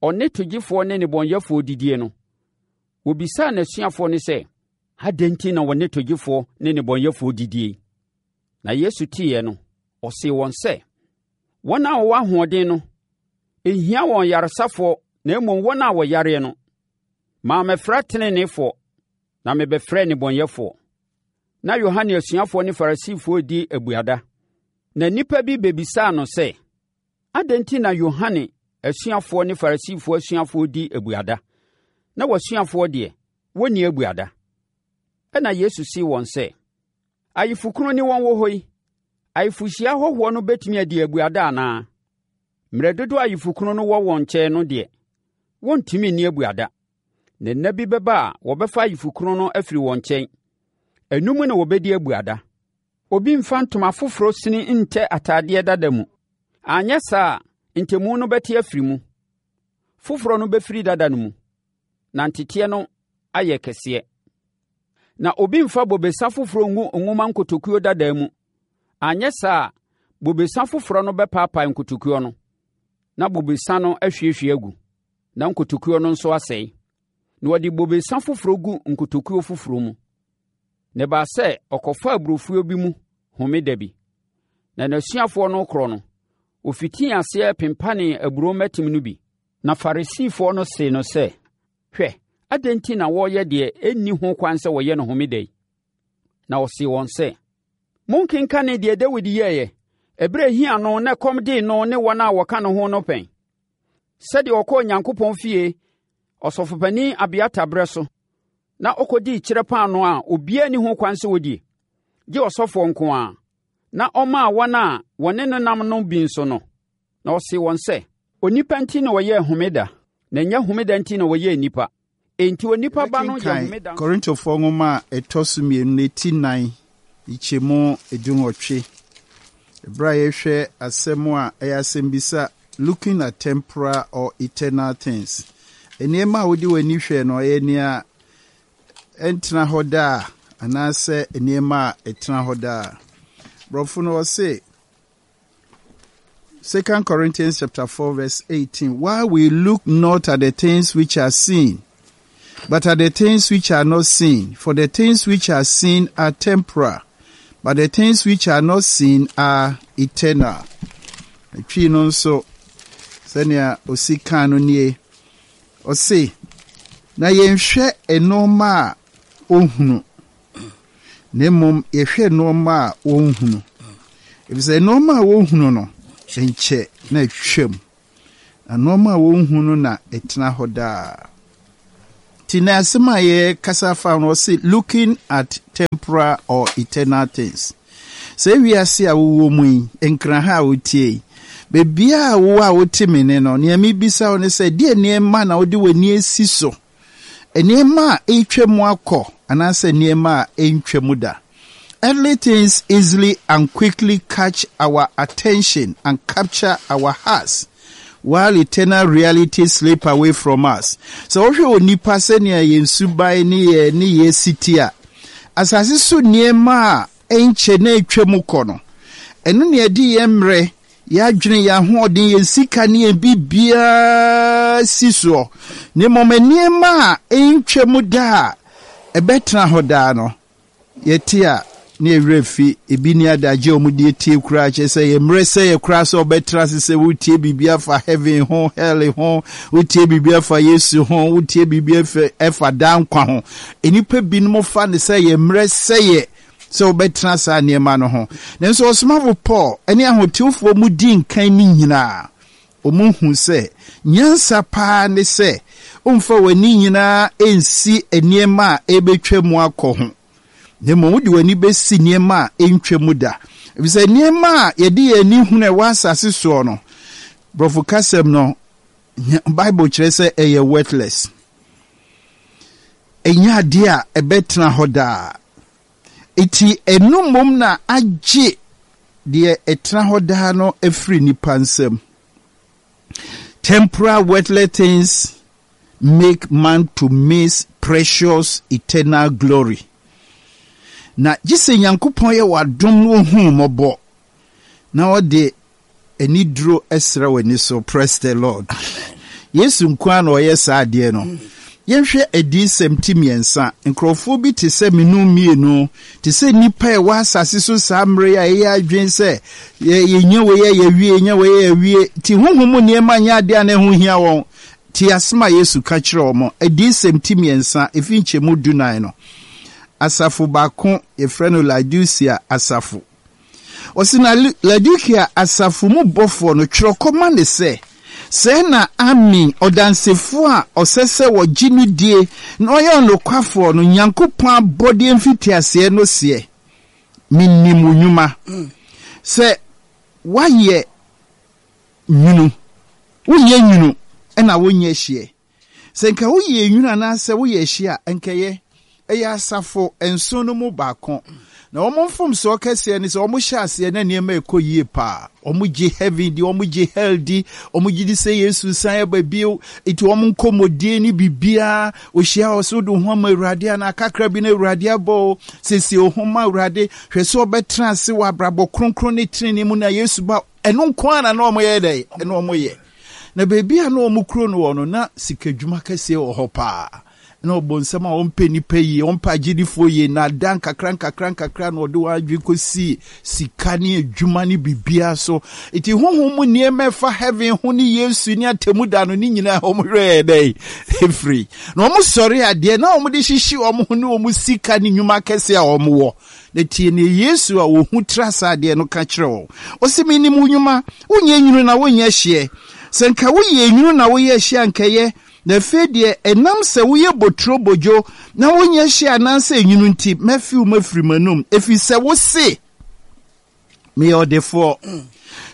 S3: ɔne togyefoɔ ne nnebɔneyɛfoɔ didie no, wɔbisaa n'asuafoɔ no sɛ, Adɛn nti na wɔne togyefoɔ ne nnebɔneyɛfoɔ didie? Na Yesu teeɛ no, ɔsee wɔn sɛ, Wɔn a wɔwɔ ahoɔden no, ɛnhia wɔn yaresafoɔ na mmom wɔn a wɔyareɛ no. Mammɛfrɛ teneneefoɔ, na mebɛfrɛɛ nnebɔneyɛfoɔ. Na Yohane asuafoɔ ne Farisifoɔ redi abuada. Na nnipa bi bɛbisaa no sɛ, Adɛn nti na Yohane asuafoɔ ne Farisifoɔ asuafoɔ di abuada, na w'asuafoɔ deɛ, wɔnni abuada? Ɛnna Yesu see wɔn sɛ, Ayefokunu ne wɔn wɔ hɔ yi, ayefohyia ahɔhoɔ no bɛtumi adi abuada anaa? Mmerɛ dodoɔ a ayefokunu no wɔ wɔn nkyɛn no deɛ, wɔntumi nni abuada. Na nna bi bɛba a wɔbɛfa ayefokunu no afiri wɔn nkyɛn. Ɛno mu na wɔbɛdi abuada. Obi mfa ntoma foforɔ sini ntɛ atadeɛ dada mu. Anyɛ saa a, ntɛmu no bɛte afiri mu. Foforɔ no bɛfiri dada no mu, na nteteɛ no ayɛ kɛseɛ. Na obi mfa bobesa foforɔ ngu nwoma nkotokuo dada mu. Anyɛ saa a, bobesa foforɔ no bɛpaapae nkotokuo no, na bobesa no ahwiehwie agu, na nkotokuo no nso asɛe. Na wɔde bobesa foforɔ gu nkotokuo foforɔ mu. Na ɛbaa sɛ ɔkɔfaa aburofuo bi mu homeda bi. Na n'asuafoɔ no rekorɔ no, ɔfitii aseɛ pempanee aburoo mmɛtem no bi. Na Farisifoɔ no see no sɛ, Hwɛ, adɛn nti na wɔreyɛ deɛ ɛnni ho kwan sɛ wɔyɛ no homeda yi? Na ɔsee wɔn sɛ, Monkenkanee deɛ Dawid yɛeɛ, ɛberɛ a ɛhia no na ɛkɔm dee no ne wɔn a wɔka ne ho no pɛn? Sɛdeɛ ɔkɔɔ Onyankopɔn fie Ɔsɔfopanin Abiatar berɛ so na ɔkɔdii kyerɛ paanoo a obiara nni ho kwan sɛ ɔdie, gye ɔsɔfoɔ nko ara, na ɔmaa wɔn a wɔne no nam no bi nso no. Na ɔsee wɔn sɛ, Onipa nti na wɔyɛɛ homeda, na ɛnyɛ homeda nti na wɔyɛɛ nnipa. Enti onipa Ba no yɛ
S1: Yɛbɛkenkan
S3: homeda nso.
S1: Korintofoɔ nwoma a ɛtɔ so mmienu no ti nnan, nkyɛmu dunwɔtwe. Ɛberɛ a yɛhwɛ asɛm a ɛyɛ asɛmbisa Looking at Temporal or Eternal Things. Nneɛma a wode w'ani hwɛ no, ɛyɛ nea ɛntena hɔ daa anaasɛ nneɛma a ɛtena hɔ daa. Borɔfo no ɔse, Second Corinthians chapter four verse eighteen, While we look not at the things which are seen, but at the things which are not seen, for the things which are seen are temporal, but the things which are not seen are eternal. Twi no nso, sɛnea osi kan no nie, ɔse, na yɛnhwɛ nneɛma a ohunu, na mmom yɛhwɛ nneɛma a wɔnhunu. Efisɛ nneɛma a wɔhunu no, nkyɛ na atwam. Na nneɛma a wɔnhu no na ɛtena hɔ daa. Nti na asɛm a yɛkasa fa no, ɔse looking at temporal or eternal things. Sɛ wiase a wowɔ mu yi, Nkran ha a wotie yi, beebiaa a wowɔ a wote me ne no, nea mebisa wo ne sɛ, deɛ nneɛma na wode w'ani asi so? Nneɛma a ɛretwa mu akɔ anaasɛ nneɛma a ɛntwa mu da? Earthly things easily and quickly catch our attention and capture our hearts, while eternal realities slip away from us. Sɛ wohwɛ onipa sɛnea yɛn suban ne yɛ ne yɛ siti a, asase so nneɛma a ɛnkyɛ na ɛtwa mu kɔ no, ɛno ne yɛde yɛn mmerɛ, yɛadwene, yɛn ahoɔden, yɛn sika ne yɛn biribiara si soɔ. Na mmom nneɛma a ɛntwa mu da a ɛbɛtena hɔ daa no, yɛte a ne yɛwerɛ fi. Ebi ni adagye a wɔde etie koraa kyerɛ sɛ yɛ mmerɛ sɛ yɛ koraa sɛ ɔbɛtena ase sɛ wotie biribi afa heaven ho, hell ho, wotie biribi afa Yesu ho, wotie biribi afa ɛfa daa nkwa ho. Nnipa binom fa ne sɛ yɛ mmerɛ sɛ yɛ sɛ wobɛtena saa nneɛma no ho. Nanso Ɔsomafo Paul ne ahotewfoɔ mu di nkan ne nyinaa, wɔn hu sɛ nyansa paa ne sɛ womfa w'ani nyinaa nsi nneɛma a ɛbɛtwa mu akɔ ho, na mmom wode w'ani bɛsi nneɛma a ɛntwa mu da, efisɛ nneɛma a yɛde yɛn ani hunu a ɛwɔ asase soɔ no, borɔfo kasɛm no, Bible kyerɛ sɛ ɛyɛ worthless, ɛnyɛ adeɛ a ɛbɛtena hɔ daa. Eti ɛno mmom na agye deɛ ɛtena hɔ daa no afiri nipa nsam. Temporal worldly things make man to miss precious eternal glory. Na gye sɛ Nyankopɔn yɛ w'adom no, ohuu mmɔbɔ na ɔde aniduro ɛsrɛ w'ani so. Praise the Lord. Yesu nko ara na ɔyɛ saa adeɛ no. Yɛnhwɛ Adiyisɛm ti mmiɛnsa. Nkurɔfoɔ bi te sɛ menu mmienu, te sɛ nnipa a ɛwɔ asase so saa mmerɛ yi a ɛyɛ adwene sɛ yɛnya wei a yɛwie, yɛnya wei a yɛwie, nti honhom mu nneɛma nyɛ adeɛ a na ɛho hia wɔn. Te asɛm a Yesu ka kyerɛ wɔn. Adiyisɛm ti mmiɛnsa, ɛfi nkyɛmu dunan no. Asafo baako, yɛfrɛ no Laodicea asafo. Ɔsi na Laodicea asafo mu bɔfoɔ no, twerɛ kɔma ne sɛ, sɛɛ na Amen, ɔdansefoɔ a ɔsɛ sɛ wɔgye no die na ɔyɛ ɔnokwafoɔ no, Nyankopɔn abɔdeɛ mfitiaseɛ no seɛ: Menim wo nnwuma, sɛ woayɛ nwunu, wonyɛ nwunu ɛna wonyɛ hyeɛ. Sɛ nka woyɛ nwunu anaasɛ woyɛ hyeɛ a, nkɛyɛ. Ɛyɛ asafo nson no mu baako. Na wɔn mfomsoɔ kɛseɛ ne sɛ wɔn hyɛ aseɛ na nneɛma ɛkɔ yie paa. Wɔn gye heaven di, wɔn gye hell di, wɔn gye di sɛ Yesu san ɛba bio. Eti wɔn nkɔmmɔdie ne biribiara ohyia wɔ so de ho ama Awurade ana kakra bi na Awurade abɔ o siesie wo ho ma Awurade, hwɛ sɛ ɔbɛtena ase wɔ abrabɔ kronkron ne tenenee mu na Yesu ba. Ɛno nko ara na wɔn yɛ dɛ ɛno wɔn yɛ. Na beebi a na wɔn kuro no wɔ no, na sikadwuma kɛseɛ wɔ hɔ paa, na ɔbɔ nsɛm a ɔmpɛ nipa yie, ɔmpɛ agyedifoɔ yie, na ada nkakra nkakra nkakra na ɔde wɔn adwene kɔsi sika ne adwuma ne biribiara so. Eti honhom mu nneɛma ɛfa heaven ho ne Yesu ne atemu da no ne nyinaa, wɔn werɛ yɛ dɛ efiri. Na wɔn sɔre adeɛ na wɔn de hyehye wɔn ho ne wɔn sika ne nnwuma kɛseɛ a wɔn wɔ. Na tie ne Yesu a wɔhu tra saa adeɛ no ka kyerɛ wɔn. Ɔsi, "Menim wo nnwuma, wonyɛ nwunu na wonyɛ hyeɛ. Sɛ nka woyɛ nwunu na woyɛ hyeɛ ankɛyɛ. Na afei deɛ, ɛnam sɛ woyɛ boturo bodwo na wonyɛ hye anaasɛ nwunu nti, mɛfi wo mafiri m'anum, ɛfiri sɛ wo se, meyɛ ɔdefoɔ."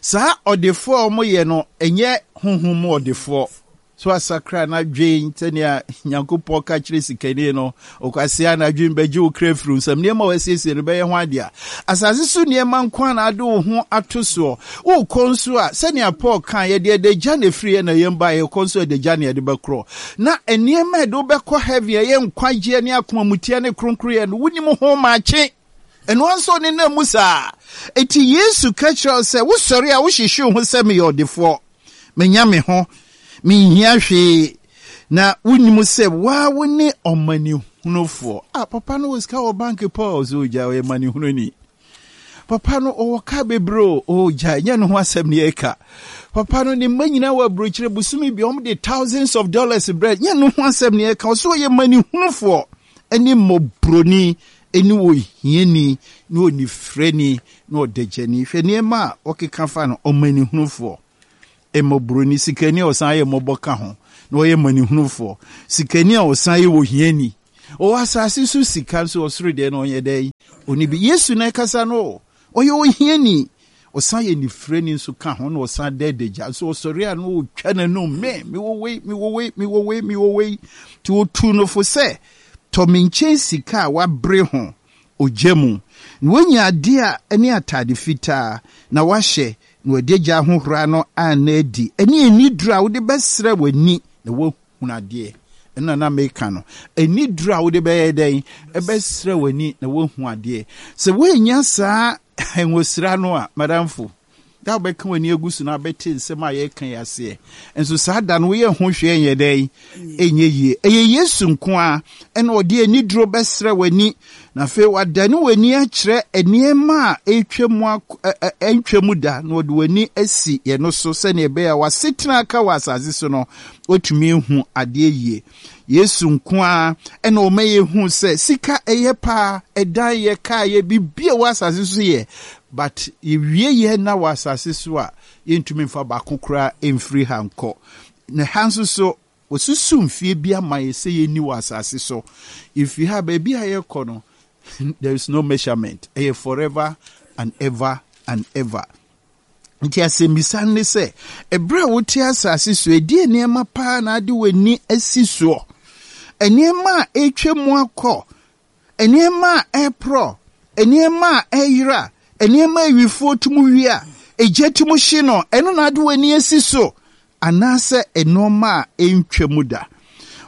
S1: Saa ɔdefoɔ a wɔyɛ no, ɛnyɛ honhom mu ɔdefoɔ so asakra n'adwen sɛnea Nyankopɔn ka kyerɛ sikani no, "Ɔkwasea, n'adwen bɛgye wo kra firi nsam. Nneɛma a wɔasiesie no bɛyɛ ho adeɛ a asase so nneɛma nko a na ade wo ho ato soɔ. Wokɔ nso a, sɛnea Paul ka, yɛde adagya na ɛfiri yɛ na yɛn ba, yɛkɔ nso adagya na yɛde bɛkorɔ. Na nneɛma a ɛde wobɛkɔ heaven, ɛyɛ nkwagyeɛ ne akomamuteɛ ne kronkronyɛ no, wonim ho maakye. Ɛno nso ne nam mu saa. Enti Yesu ka kyerɛ wo sɛ wosɔre a wohyehye wo ho sɛ meyɛ ɔdefoɔ, menya me ho, menhia hwee, na wonim sɛ waa wo ne ɔmanehunufoɔ. Ah, papa no wɔ sika wɔ bank pa o, so ogya ɔyɛ manehununi. Papa no ɔwɔ kaa bebree o, ogya nyɛ ne ho asɛm ne yɛka. Papa no ne mma nyinaa wɔ aburokyire, bosome bi wɔn de thousands of dollars brɛ, nyɛ ne ho asɛm ne yɛka. Ɔso ɔyɛ manehunufoɔ ɛne mmɔborɔni ɛne ohiani ne onifirani ne ɔdagyani. Hwɛ nneɛma a ɔkeka fa no, ɔmanehunufoɔ. Mmɔborɔni, sikani a ɔsan yɛ mmɔbɔ ka ho, na ɔyɛ mmanihunufoɔ. Sikani a ɔsan yɛ ohiani. Ɔwɔ asase so sika nso ɔsoro deɛ no ɔnyɛ dɛn? Ɔni bi. Yesu na ɛkasa no o. Ɔyɛ ohiani. Ɔsan yɛ nifirani nso ka ho na ɔsan da adagya. Nso ɔsɔre a na ɔtwa n'anum, me, mewɔ wei, mewɔ wei, mewɔ wei, mewɔ wei. Nti ɔtuu no fo sɛ, tɔ me nkyɛn sika a wabere ho ogya mu, na woanya adeɛ a ɛne atade fitaa na wahyɛ, na wɔde agya ahohora no anna adi, ɛne aniduro a wode bɛsrɛ w'ani na woahunu adeɛ. Ɛno na meka no. Aniduro a wode bɛyɛ dɛn? Ɛbɛsrɛ w'ani na woahu adeɛ. Sɛ woannya saa nwosira no a, madamfo, da wobɛka w'ani agu so na abɛte nsɛm a yɛreka yi aseɛ. Nso saa da no woyɛ ho hwee nyɛ dɛn? Ɛnyɛ yie. Ɛyɛ Yesu nko a ɛna ɔde aniduro bɛsrɛ w'ani, na afei wadane w'ani akyerɛ nneɛma a ɛretwa mu ɛntwa mu da, na ɔde w'ani asi yɛn no so sɛnea ɛbɛyɛ a w'asetena aka wɔ asase so no, watumi ehu adeɛ yie. Yesu nko a ɛna ɔma yɛhu sɛ sika ɛyɛ paa, ɛdan yɛ, kaa yɛ, biribi a ɛwɔ asase so yɛ, but yɛwie yɛ na wɔ asase so a, yɛntumi mfa baako koraa mfiri ha nkɔ. Na ha nso so, wɔsusu mfie bi ama yɛ sɛ yɛnni wɔ asase so. Yɛfiri ha, baabi a yɛrekɔ no, there is no measurement. Ɛyɛ forever and ever and ever. Nti asɛmmisa ne sɛ, ɛberɛ a wote asase so, ɛdeɛ nneɛma paa na ade w'ani asi soɔ? Nneɛma a ɛretwa mu akɔ, nneɛma a ɛreporɔ, nneɛma a ɛreyera, nneɛma a awifoɔ tum wie a, egya tum hye no, ɛno na ade w'ani asi so, anaasɛ nneɛma a ɛntwa mu da.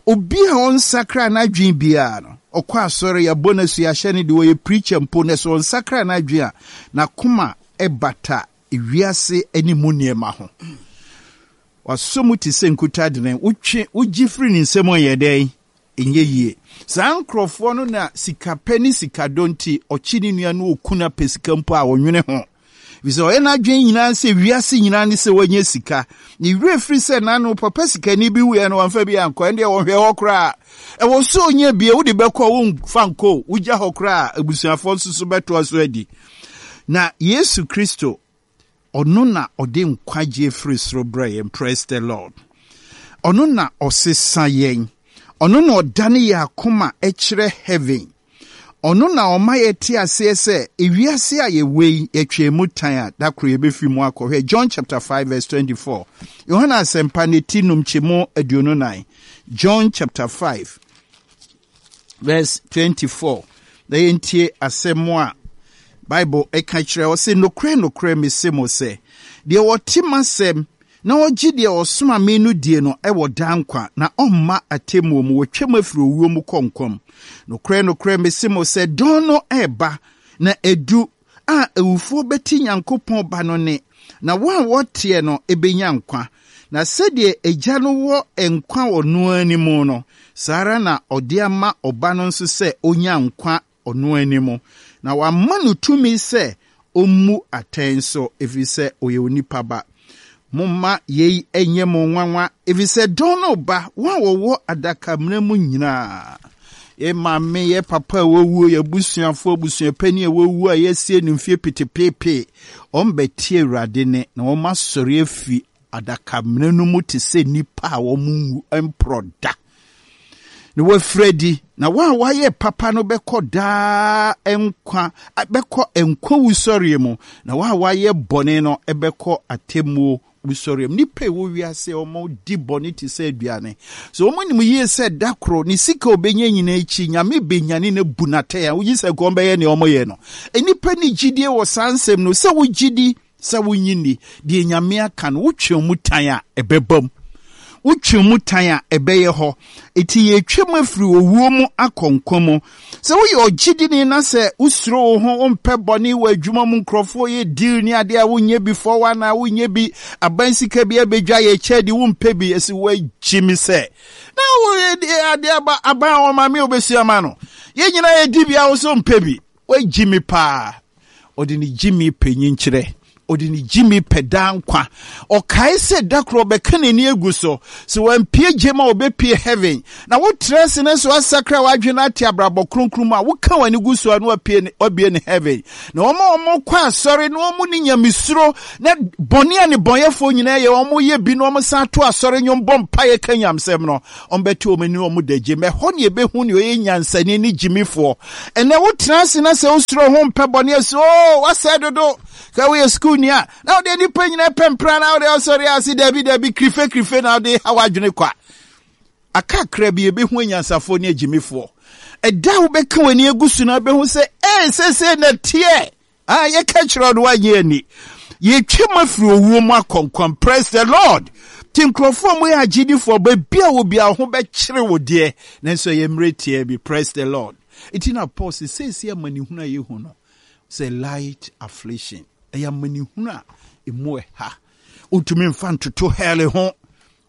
S1: Obi a ɔnsakra n'adwene biara no, ɔkɔ asɔre, yɛabɔ no asu, yɛahyɛ no de, ɔyɛ preacher mpo, na sɛ ɔnsakra n'adwene a, n'akoma ɛbata ewiase ne mu nneɛma ho. Wasɔ mu te sɛ nkutadene, wotwe, wogye firi ne nsam ɔnyɛ dɛn? Ɛnyɛ yie. Saa nkurɔfoɔ no na sikapɛ ne sikadɔ nti, ɔkye ne nua no ɔku no apɛ sika mpo a ɔnwene ho. Efisɛ ɔyɛ n'adwene nyinaa sɛ wiase nyinaa ne sɛ wanya sika. Ne werɛ firi sɛ n'ano papa sikani bi wuiɛ no wamfa bi ankɔ, ɛndeɛ wɔhwɛ hɔ koraa. Ɛwɔ sɛ onya bie, wode bɛkɔ, womfa nkɔ, wogya hɔ koraa, abusuafoɔ nso so bɛtoa so adi. Na Yesu Kristo, ɔno na ɔde nkwagyeɛ firi soro brɛ yɛn. Praise the Lord. Ɔno na ɔsesa yɛn. Ɔno na ɔdane yɛn akoma kyerɛ heaven. Ɔno na ɔma yɛte aseɛ sɛ ewiase a yɛwɔ yi, yɛtwɛn mu tan a, da koro yɛbɛfiri mu akɔhwɛ. John chapter five verse twenty-four. Yohana asɛmpa ne ti num kyɛmu aduonu nan. John chapter five verse twenty-four. Na yɛntie asɛm a Bible ɛka kyerɛ ɔse, nokorɛ nokorɛ mese mo sɛ, deɛ ɔte m'asɛm na ɔgye deɛ ɔsoma me no die no ɛwɔ daa nkwa, na ɔmma atemmuo mu, wɔtwam afiri owuo mu kɔ nkwa mu. Nokorɛ nokorɛ mese mo sɛ, dɔn no ɛreba na edu a awufoɔ bɛte Nyankopɔn ba no ne, na wɔn a wɔteɛ no ebenya nkwa. Na sɛdeɛ Agya no wɔ nkwa wɔ no ara mu no, saa ara na ɔde ama ɔba no nso sɛ onya nkwa ɔno anim. Na wama no tumi sɛ ɔmmu atɛn so, ɛfiri sɛ ɔyɛ onipa ba. Momma yei ɛnyɛ mo nwanwa, ɛfiri sɛ dɔn no ba, wɔn a wɔwɔ adakamena mu nyinaa, yɛ maame, yɛ papa a wɔwuo, yɛ abusuafoɔ, abusuapanin a wɔwuo a yɛasie no mfie petepeepee, wɔn bɛtie Awurade ne, na wɔn asɔre afiri adakamena no mu te sɛ nnipa a wɔn nwu mporɔ da. Na wɔafiri adi, na wɔn a wɔayɛ papa no bɛkɔ daa nkwa, bɛkɔ nkwa wusɔreɛ mu, na wɔn a wɔayɛ bɔne no bɛkɔ atemmuo wusɔreɛ mu. Nnipa a ɛwɔ wiase a wɔn di bɔne te sɛ aduane. So wɔn nim yie sɛ da koro ne sika a obɛnya nyinaa akyi, Nyame bɛnyane na bu n'atɛn a wogye sɛ nkɔm bɛyɛ nea wɔyɛ no. Nnipa ni gyidie wɔ saa nsɛm no, sɛ wogye di, sɛ wonyi ni, deɛ Nyame aka no, wotwe mu tan a ɛbɛba mu. Wotwe mu tan a ɛbɛyɛ hɔ. Eti yɛtwa mu afiri owuo mu akɔ nkwa mu. Sɛ woyɛ ɔgyidini na sɛ wosuro wo ho, wompɛ bɔne wɔ adwuma mu, nkurɔfoɔ yɛ deal ne adeɛ a wonyɛ bi four one nine, wonyɛ bi, aban sika bi abɛdwa yɛ kyɛ de wompɛ bi, ɛsi woagyi me sɛ. Na woyɛ adeɛ aba, aban a wɔma me wobɛsi ama no. Yɛn nyinaa yɛdi bi a wo so mpɛ bi. Woagyi me paa. Ɔde ne gyi me panyin kyerɛ. Ɔde ne gyimi pɛ daa nkwa. Ɔkae sɛ da koro ɔbɛka n'ani agu so. Sɛ wampue gyem a, ɔbɛpue heaven. Na wotra ase na sɛ woasakra w'adwene ate abrabɔ kronkron mu a, woka w'ani gu so a na wapue ne, wabue ne heaven. Na wɔn a wɔkɔ asɔre na wɔn ne nyamesuro na bɔne a nnebɔneyɛfoɔ nyinaa yɛ, wɔn yɛ bi na wɔn san to asɔre nnwom bɔ mpaeɛ ka nyamsɛm no, wɔbɛte wɔn ani wɔn da gyem. Ɛhɔ ne yɛbɛhu nea ɔyɛ nyansani ne gyimifoɔ. Ɛnɛ wotena ase na sɛ wosuro ho mpɛ bɔne a, sɛ oo, wasɛe dodo. Sɛ woyɛ sukuuni a, na wode nnipa nyinaa pɛ mpra na wode ɔsɔre ase dabi dabi kirife kirife na wode ha w'adwene kwa. Akakra bi yɛbɛhu anyansafoɔ ne agyimifoɔ. Ɛda a wobɛka w'ani agu so na wobɛhu sɛ ee seesei na teɛ a yɛka kyerɛ no woanyɛ ani. Yɛtwa mu afiri owuo mu akɔ nkwa. Praise the Lord. Nti nkurɔfoɔ a wɔyɛ agyedifoɔ, baabi a wɔ biara ho bɛkyere wo deɛ, nanso ɛyɛ mmerɛ tiaa bi. Praise the Lord. Nti na Paul sɛ seesei amanehunu a yɛhu no, sɛ light affliction, ɛyɛ amanehunu a emu ɛha. Wontumi mfa ntoto hell ho.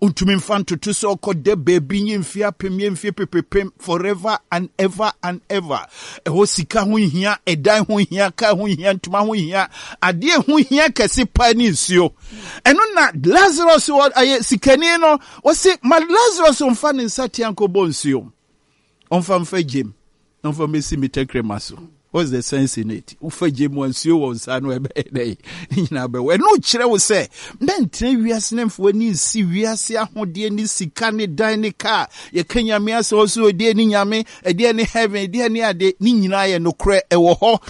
S1: Wontumi mfa ntoto sɛ ɔkɔda baabi nye mfe apem nye mfe pepepem forever and ever and ever. Ɛhɔ sika ho hia, ɛdan ho hia, kaa ho hia, ntoma ho hia. Adeɛ ho hia kɛse paa ne nsuo. Ɛno na Lazarus wɔ ɛyɛ sikani no, ɔse ma Lazarus mfa ne nsa tea nkɔbɔ nsuo. Ɔmfa mfa gyem na ɔmfa mmɛsi me tɛkrɛma so. What's the sense in it? Wofa gye mu nsuo wɔ nsa no ɛbɛyɛ dɛ ne nyinaa bɛwɔ. Ɛno kyerɛ wo sɛ mɛntena wiase ne mfa w'ani nsi wiase ahodeɛ ne sika ne dan ne kaa. Yɛka Nyame asɛm ɔso ɛdeɛ ne Nyame, ɛdeɛ ne heaven, ɛdeɛ ne ade, ne nyinaa yɛ nokorɛ ɛwɔ hɔ.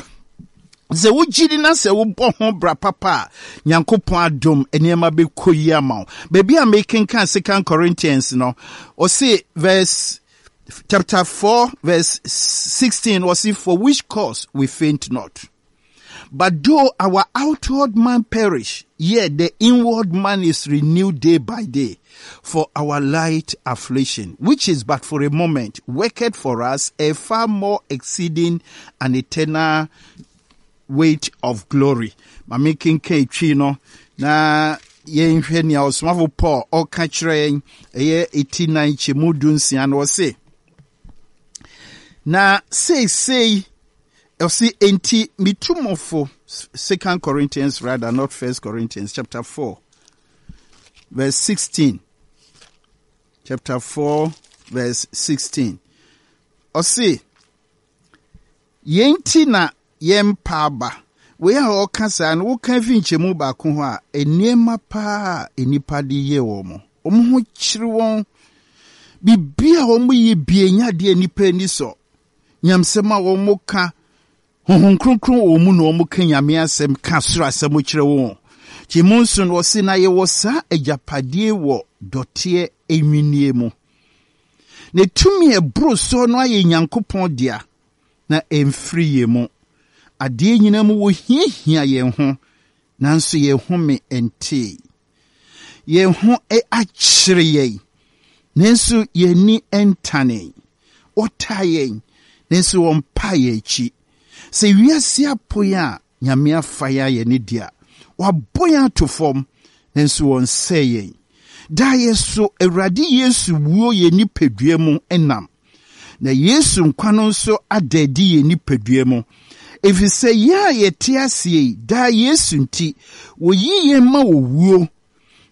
S1: Sɛ wogye di na sɛ wobɔ ho bra papa a, Nyankopɔn adom nneɛma bɛkɔ yi ama wo. Baabi a mekenkan Second Corinthians no, ɔse verse chapter four verse sixteen, ɔse for which cause we faint not. But though our outward man perish, yet the inward man is renewed day by day. For our light affliction, which is but for a moment, worketh for us a far more exceeding and eternal weight of glory. Mame kenkan twi no na yɛnhwɛ nea ɔsomafo Paul ɔka kyerɛ yɛn, ɛyɛ eti nan kyɛmu du nsia no, ɔse na seesei ɔse enti mitumofo, Second Corinthians rather, not First Corinthians, chapter four verse sixteen. Chapter four verse sixteen. Ɔse yɛn ti na yɛn mpa aba. Wei a ɔka saa no, woka fi nkyɛmu baako hɔ a, nneɛma paa a nnipa de yɛ wɔn. Wɔn ho kyerɛ wɔn. Biribi a wɔn yɛ bie nya adeɛ a nnipa ani sɔ. Nyamsɛm a wɔn ka, Honhom Kronkron wɔ mu na wɔn ka Nyame asɛm, ka soro asɛm kyerɛ wɔn. Nti mu nso no, ɔse na yɛwɔ saa agyapadeɛ wɔ dɔteɛ enwinie mu. Na tumi a ɛboro soɔ no ayɛ Nyankopɔn dea, na ɛmfiri yɛn mu. Adeɛ nyinaa mu wɔhiahia yɛn ho, nanso yɛn home ntee. Yɛn ho akyere yɛn, nanso yɛn ani ntane. Wɔtaa yɛn, nanso wɔmpa yɛn akyi. Sɛ wiase apo yɛn a, Nyame afa yɛn ayɛ ne dea. Wabɔ yɛn ato fam, nanso wɔnsɛe yɛn. Daa yɛ so Awurade Yesu wuo yɛn nipadua mu nam. Na Yesu nkwa no nso ada adi yɛn nipadua mu. Ɛfiri sɛ yɛn a yɛte aseɛ yi, daa Yesu nti, wɔyi yɛn ma owuo.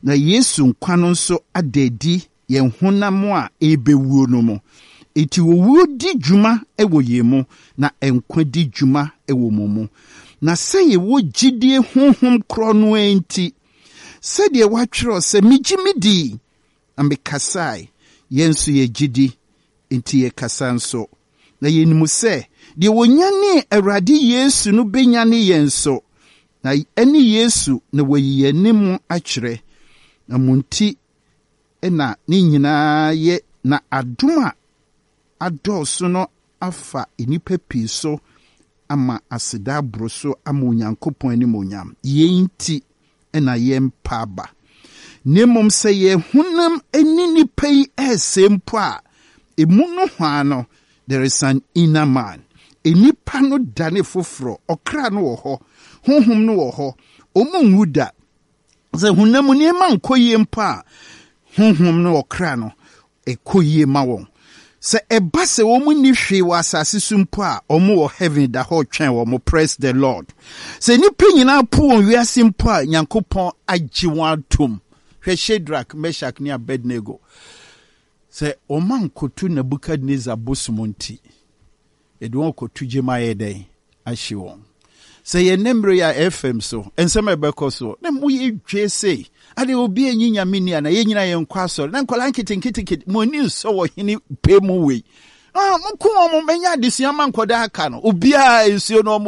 S1: Na Yesu nkwa no nso ada adi yɛn honam a ɛrebɛwuo no mu. Enti owuo di dwuma wɔ yɛn mu, na nkwa di dwuma wɔ mo mu. Na sɛ yɛwɔ gyidie honhom korɔ no ara nti, sɛdeɛ wɔatwerɛ sɛ, megye me di, na mekasae, yɛn nso yɛgye di, enti yɛkasa nso. Na yɛnim sɛ, deɛ wɔnyanee Awurade Yesu no bɛnyane yɛn nso, na ɛne Yesu na wɔayi yɛn ne mo akyerɛ. Na mo nti na ne nyinaa yɛ, na adom a adɔɔso no afa nnipa pii so ama aseda aboro so ama Onyankopɔn animuonyam. Yɛn nti na yɛmpa aba. Na mmom sɛ yɛn honam ani nnipa yi ɛresɛe mpo a, emu no hwaa no, there is an inner man. Nnipa no dane foforɔ, ɔkra no wɔ hɔ, honhom no wɔ hɔ, ɔmo nwu da. Sɛ honam nneɛma nkɔ yie mpo a, honhom no ɔkra no ɛkɔ yie ma wɔn. Sɛ ɛba sɛ wɔn nni hwee wɔ asase so mpo a, wɔn wɔ heaven da hɔ twɛn wɔn. Praise the Lord. Sɛ nnipa nyinaa po wɔn wiase mpo a, Nyankopɔn agye wɔn atom. Hwɛ Shadrach, Meshach ne Abednego. Sɛ wɔn ankoto Nebukadnezar bosom nti, yɛde wɔn kɔto gyem ayɛ dɛn? Ahye wɔn. Sɛ yɛn nnɛ mmerɛ yi a F M so, nsɛm a ɛbɛkɔ so, na mo yɛ dwe se, ade obi anyi Nyame ni ana, yɛn nyinaa yɛnkɔ asɔre, na nkwadaa nketenkete mo ani nsɔ wɔ hene pɛ mu wei. Ah, mo ko wɔn, mɛnya adesua ma nkwadaa aka no, obiara nsuo no wɔn